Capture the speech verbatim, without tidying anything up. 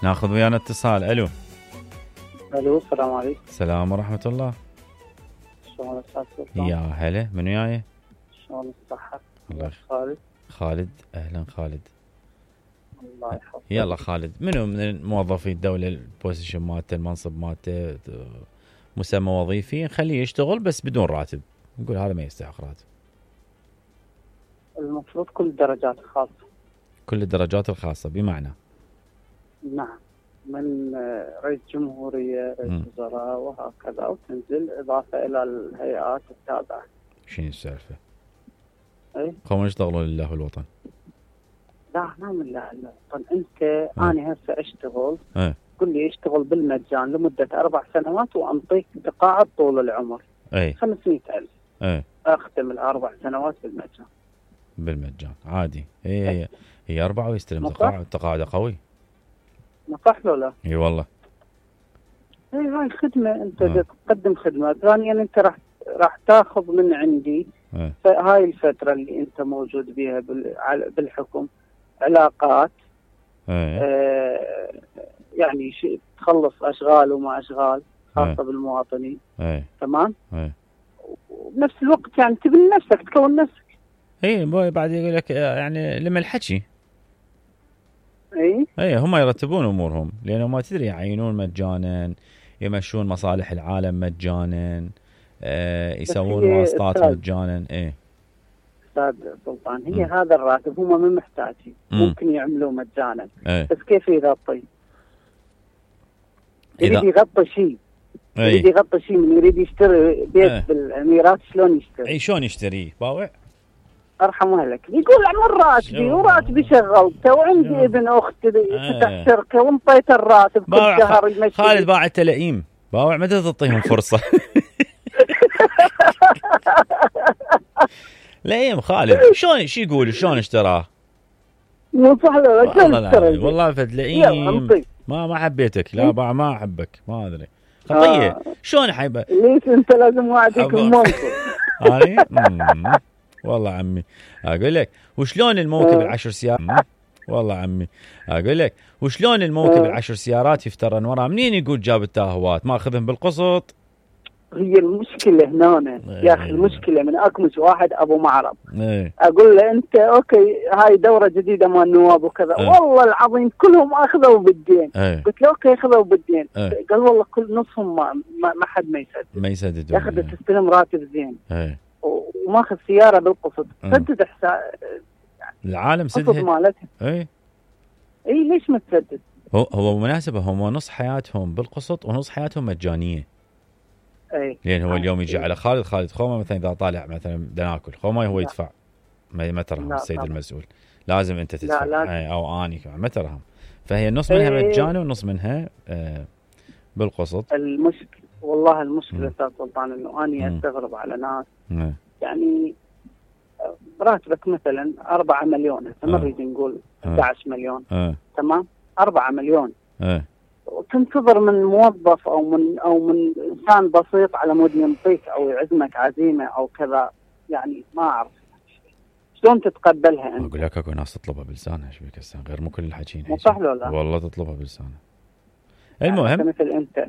ناخذ ويانا اتصال. الو الو السلام عليكم. السلام ورحمة الله. شلون استاذ سلطان؟ يا هلا، من وياي؟ شلون الصحة؟ الله خالد. خالد، اهلا خالد. الله يحفظك. يلا خالد، منو من موظفي الدولة البوزيشن مالته، المنصب مالته، مسمى وظيفي، نخليه يشتغل بس بدون راتب، نقول هذا ما يستحق راتب. المفروض كل الدرجات الخاصة. كل الدرجات الخاصة بمعنى؟ نعم، من رئيس جمهورية، رئيس وزراء وهكذا، وتنزل إضافة إلى الهيئات التابعة. شنو السالفة؟ اي قوم يشتغلوا لله والوطن. لا ما من لا الوطن. انت اه. انا هسه اشتغل اه. قل لي اشتغل بالمجان لمدة اربع سنوات وانطيك تقاعد طول العمر. اي خمسمية الف. اي اختم الاربع سنوات بالمجان. بالمجان عادي. هي هي هي اربعة ويستلم تقاعد. تقاعد قوي. ما صح لو لا؟ اي والله. اي هاي خدمة، انت آه. تقدم خدمة. ثانيا انت راح راح تاخذ من عندي آه. هاي الفترة اللي انت موجود بيها بالحكم علاقات. آه. آه يعني شيء تخلص اشغال وما اشغال خاصة آه. بالمواطنين. آه. تمام. آه. وبنفس الوقت يعني تبني نفسك، تكون نفسك. اي بعد يقول لك يعني لما الحكي. اي اي هم يرتبون امورهم، لانه ما تدري يعينون مجانا، يمشون مصالح العالم مجانا، آه يسوون واسطات مجانا. اي استاذ سلطان، هي م. هذا الراتب هم من محتاجين، ممكن يعملوه مجانا. ايه. بس كيف يغطي؟ يريد يغطي شيء، يريد يغطي شيء، من يريد يشتري بيت ايه. بالاميرات شلون يشتري؟ اي شلون يشتريه؟ باوع ارحم اهلك. يقول عمر راتبي وراتبي شغلته وعندي ابن اختي فتح ايه. شركه وانطيت الراتب كل شهر يمشي. خالد باع التلائيم، باوع متى تعطيهم فرصه؟ لئيم خالد. شلون شو يقول شلون اشتراه؟ مو صح لا والله والله فد لئيم. ما ما حبيتك. لا باع ما احبك، ما ادري خطيه. آه. شلون حيبه؟ ليش انت لازم وعدك الموقف؟ انا والله عمي اقول لك وشلون الموكب آه. العشر سيارات. والله عمي اقول لك وشلون الموكب آه. العشر سيارات يفترن وراه. منين يقول جاب التاهوات؟ ما اخذهم بالقسط. هي المشكلة هنا ايه. يا أخي المشكلة من أكمش واحد أبو معرض ايه. أقول له أنت أوكي هاي دورة جديدة مال النواب وكذا ايه. والله العظيم كلهم أخذوا بالدين ايه. قلت له أوكي أخذوا بالدين ايه. قال والله كل نصهم ما, ما, ما حد ما يسدد ما يسدد يا أخي تستلم راتب زين ايه. وماخذ سيارة بالقسط سدد حساب العالم سدد مالتها. ايه اي ليش ما تسدد؟ هو هو مناسبة هم نص حياتهم بالقسط ونص حياتهم مجانية. اي لان هو اليوم يجي على خالد خالد خومه مثلا اذا طالع مثلا بدنا ناكل خومه هو يدفع ما ترهم السيد طبعا. المسؤول لازم انت تدفع. لا لا. او اني ما ترهم. فهي النص منها ايه. مجاني والنص منها آه بالقسط. المشكله والله المشكله استاذ سلطان انه اني استغرب على ناس م. يعني راتبك مثلا أربعة مليون هسه ما نريد نقول أحد عشر مليون اه. تمام أربعة مليون اه. وتنتظر من موظف او من او من انسان بسيط على مود ينطيك او يعزمك عزيمه او كذا، يعني ما اعرف شلون تتقبلها انت. اقول لك اكو ناس تطلبها بلسانها ايش بك هسه غير مو كل الحكيين. مو صح ولا لا؟ والله تطلبها بلسانها. المهم مثل انت